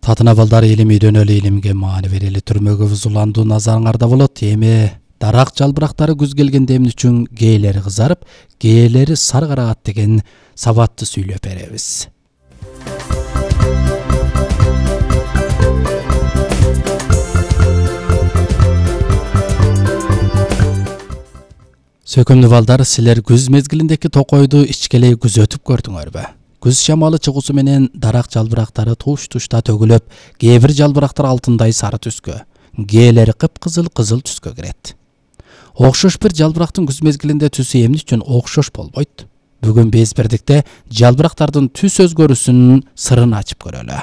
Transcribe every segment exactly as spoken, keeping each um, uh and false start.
Татына балдар илим үйрөнөлү, илимге маани берели, түрмөгө уландуу назарыңарда болот. Эми дарак жалбырактары күз келгенде эмне үчүн кээлери кызарып, кээлери сары карагат деген сабатты сүйлөп беребиз. Сөкөмдүү балдар, силер күз мезгилиндеки токойду ичкелей күзөтүп көрдүңөрбү? Күз шамалы чыгуусу менен дарак жалбырактары туш-тушта төгүлөп, кээ бир жалбырактар алтындай сары түскө, кээлери кыпкызыл кызыл түскө кирет. Окшош бир жалбырактын күз мезгилинде түсү эмне үчүн окшош болбойт? Бүгүн биз бирдикте жалбырактардын түс өзгөрүүсүнүн сырын ачып көрөлү.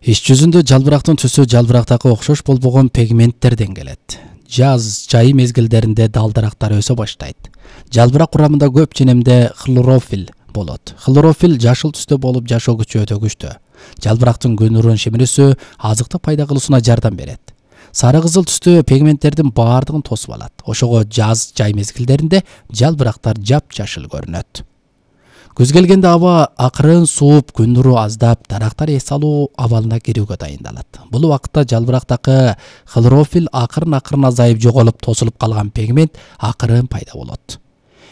Иш жүзүндө жалбырактын түсү жалбырактагы окшош болбогон пигменттерден келет. Жаз, жай мезгилдеринде дал-дарактар өсө баштайт. Жалбырак курамында көп женемде хлорофилл болот. Хлорофилл жашыл түстө болуп, жашоо күчү өтө күчтүү. Жалбырактын күн нурун шимирүүсү азыктык пайда кылуусуна жардам берет. Сары кызыл түстүү пигменттердин баардыгын тосуп алат. Ошого жаз, жай мезгилдеринде жалбырактар жап-жашыл көрүнөт. Күз келгенде аба акырын сууп, күн нуру аздап, дарактар эс алуу абалына кирүүгө дайындалат. Бул убакытта жалбырактагы хлорофилл акырын-акырын азайып, жоголуп, тосулуп калган пигмент акырын пайда болот.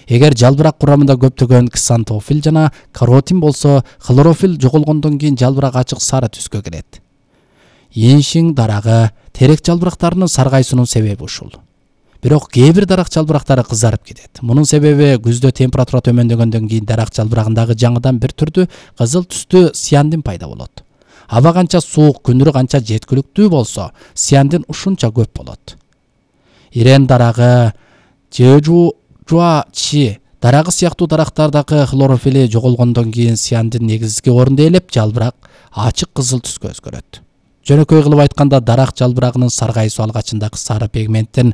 Эгер жалбырак курамында көптөгөн ксантофилл жана каротин болсо, хлорофилл жоголгондон кийин жалбырак ачык сары түскө кирет. Еншиң дарагы, терек жалбырактарынын саргайсынын себеби ушул. Бирок кээ бир дарак жалбырактары кызарып кетет. Мунун себеби күздө температура төмөндөгөндөн кийин дарак жалбырагындагы жаңыдан бир түрдүү кызыл түстүү сиандин пайда болот. Аба канча суук, күн нуру канча жеткиликтүү болсо, сиандин ушунча көп болот. Ирен дарагы, жежужуачи дарагы сыяктуу дарактардагы хлорофилли жоголгондон кийин сиандин негизги орунду ээлеп, жалбырак ачык кызыл түскө өзгөрөт. Жөнөкөй кылып айтканда, дарак жалбырагынын саргайсуу алгачындагы сары пигменттин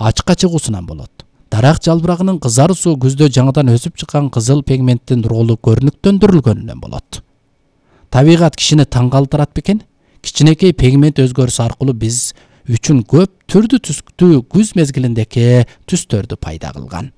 ачыкка чыгуусунан болот. Дарак жалбырагынын кызаруусу күздө жаңыдан өсүп чыккан кызыл пигменттин ролу көрүнүктөндүрүлгөнүнөн болот. Табигат кишини таң калтырат бекен? Кичинекей пигмент өзгөрүшү аркылуу биз үчүн көп түрдүү түстүү күз мезгилиндеки түстөрдү пайда кылган.